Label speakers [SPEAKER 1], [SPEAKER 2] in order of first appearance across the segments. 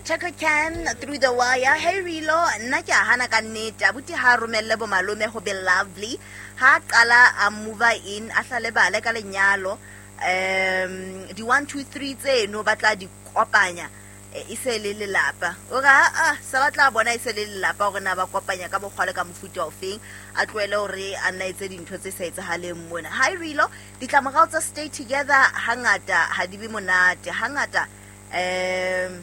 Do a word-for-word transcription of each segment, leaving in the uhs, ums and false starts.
[SPEAKER 1] Chaka Can through the wire. Hey Rilo, nna ke a hana ka nnete. Abuti ha romelle bo malome ho be lovely. Ha qala a move in, a hlale bale ka lenyalo. Um di one two three tseno ba tla di kopanya e se le lelapa. O ra a sa batla bona e se le lelapa hore na ba kopanya ka mokgwa le ka mofuta ofeng. A tlohele hore a nna etse dintho tse sa etsahaleng mona. Hi Rilo, ditlamorao tsa stay together hangata ha di be monate. Hangata um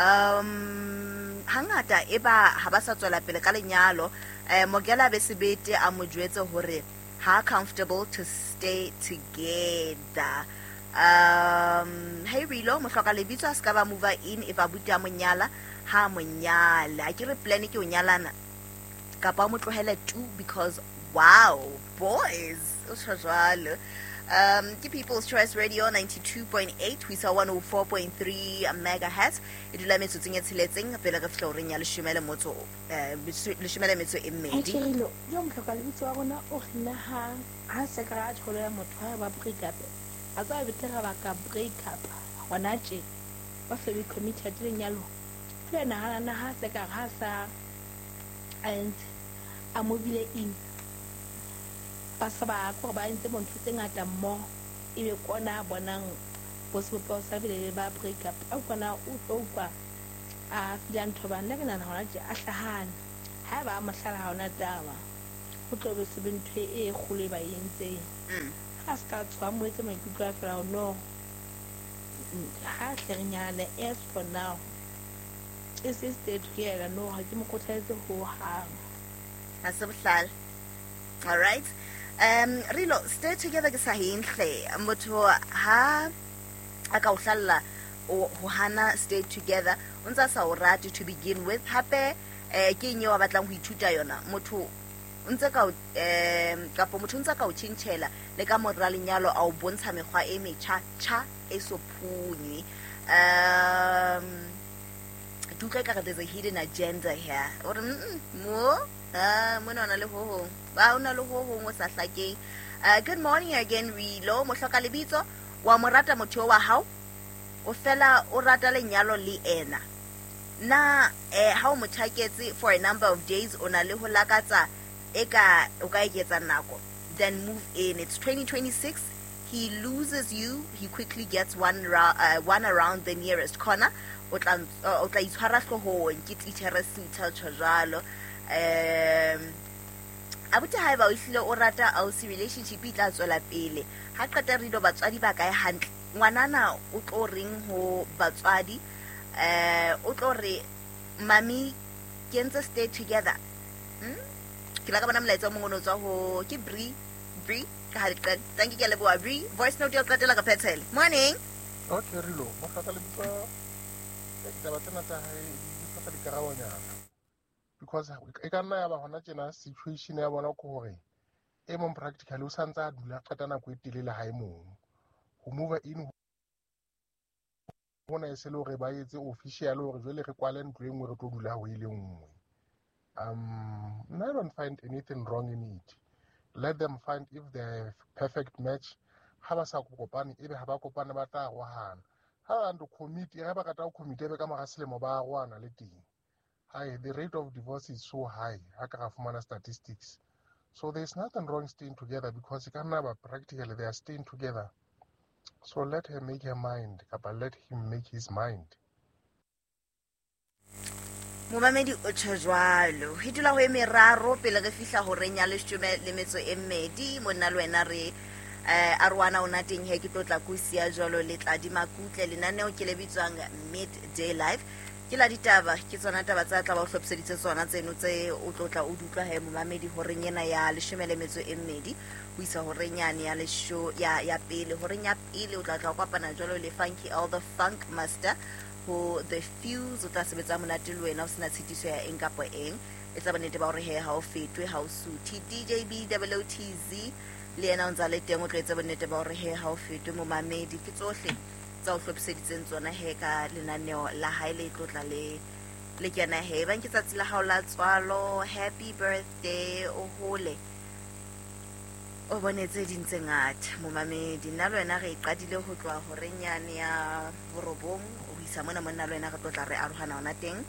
[SPEAKER 1] um hangata e ba ha ba sa tswela pele ka lenyalo. Eh Mogela be sebete a mo jwetse hore ha comfortable to stay together. Um hey Rilo, mohloka lebitso a ska ba move in if abuti a monyala ha monyala. Ke re plan ke o nyalana kapa mo tlohele two because wow boys o tjho jwalo. Um, ke People's Choice Radio ninety-two point eight, we saw one oh four point three megahertz. E dula metsotsong e tsheletseng pele re fihla horeng ya leshome le motso eh leshome le metso e mmedi.
[SPEAKER 2] Rilo, yo mohloka lebitso wa rona o re nna ha ha se ka ra tsholo ya motho ha ba break up. A tsa betere ba ka break up. Hona tje ba se be committed lenyalo. Ke nahana na ha se ka ha sa a entse a mobile in. Ba sa ba ko ba entse bontho tse ngata mmoho ebe kona bonang bo sebopeho sa pele ba break up. A kona o tlo utlwa a fila ntho ba nna ke nahana hona tje a hlahane. Ha ba mohlala ha ona taba ho tlo be se be ntho e kgolo e ba entseng. Ha se ka tswa mo etse maikutlo a fela no ha hle re nyane as for now e se stay together no ha ke mo kgothaletse ho hang.
[SPEAKER 1] Ha se bohlale. All right. Um Rilo, stay together ke sa hintle. Motho ha a ka o hlalla o ho hana stay together o ntsa sa o rate to begin with. Hape eh ke eng eo a batlang ho ithuta yona. Motho o ntse ka eh kapo motho o ntsa ka o tjhentjhela le ka mora lenyalo a o bontsha mekgwa e metjha tjha e so phunywe. Um ke utlwa ekare there's a hidden agenda here. O re mo ah mona ona le ho hong. Ba ona le ho hong o sa hlakeng. Uh, good morning again Rilo, mohloka lebitso wa morata motho wa hao o fela o rata lenyalo le ena. Na eh ha o mothaketse for a number of days o na le ho lakatsa eka o ka eketsa nako then move in. It's twenty twenty-six. He loses you, he quickly gets one ra- uh, one around the nearest corner. O tla o tla itshwara hlohong ke teacher sutha tjho jwalo. Um abuti haeba o hlile o rata ausi relationship e tla tswela pele. Ha qeta re do batswadi ba kae hantle. Ngwanana o tlo reng ho batswadi eh o tlo re mami ke ntse stay together. Hmm? Ke la ka bona molaetsa o mongwe o tswa ho ke Bri Bri ka ha le qala. Thank you ke leboha Bri. Voice note ya qetela ka phethele. Morning.
[SPEAKER 3] Okay Rilo, mohloka lebitso ditaba tsena tsa hae di hloka dikarabonyana. Because e ka nna ya ba hona tjena situation ya bona ke hore e mong practically o santse a dula qeta nako e telele ha e mong. Ho move in hona e se le hore ba etse official hore jwale re kwale ntlo e nngwe re tlo dula ho e le nngwe. Um I don't find anything wrong in it. Let them find if they're perfect match. Ha ba sa kopane ebe ha ba kopane ba tla arohana. Ha ba ndo commit, ha ba rata ho commit ebe ka mora selemo ba arohana le teng. High, the rate of divorce is so high. Ha ka ra fumana statistics. So there's nothing wrong staying together because e ka nna ba practically they are staying together. So let her make her mind, kapa let him make his mind.
[SPEAKER 1] Momamedi o tjho jwalo. Ho dula ho e meraro pele re fihla horeng ya leshome le metso e mmedi. Monna le wena re eh aroana ona teng he ke tlotla ko sia jwalo le tla di makutle lenaneo ke le bitswang Midday Live. Ke la ditaba ke tsona taba tsa tla ba o hlophiseditse tsona tseno tse o tlotla o dutlwa he momamedi horeng ena ya leshome le metso e mmedi ho isa horeng yane ya lesho ya ya pele horeng ya pele o tla tla kopana jwalo le Funky All the Funk Master ho The Fuse o tla sebetsa monate le wena o sena tshitiso ya eng kapa eng e tla bonnete ba hore he ha o fetwe ha o suthe. D J B O T Z le yena o ntsa le teng o tlo etsa bonnete ba hore he ha o fetwe momamedi ke tsohle tsa o hlophiseditseng tsona he ka lenaneo la hae le tlotla le le kena he ba nke tsatsi la hao la tswalo. Happy birthday o hole O bone tse ding tse ngata momamedi. Nna le wena re e qadile ho tloha horeng yane ya borobong ho isa mona monna le wena re tlo tla re arohana hona teng.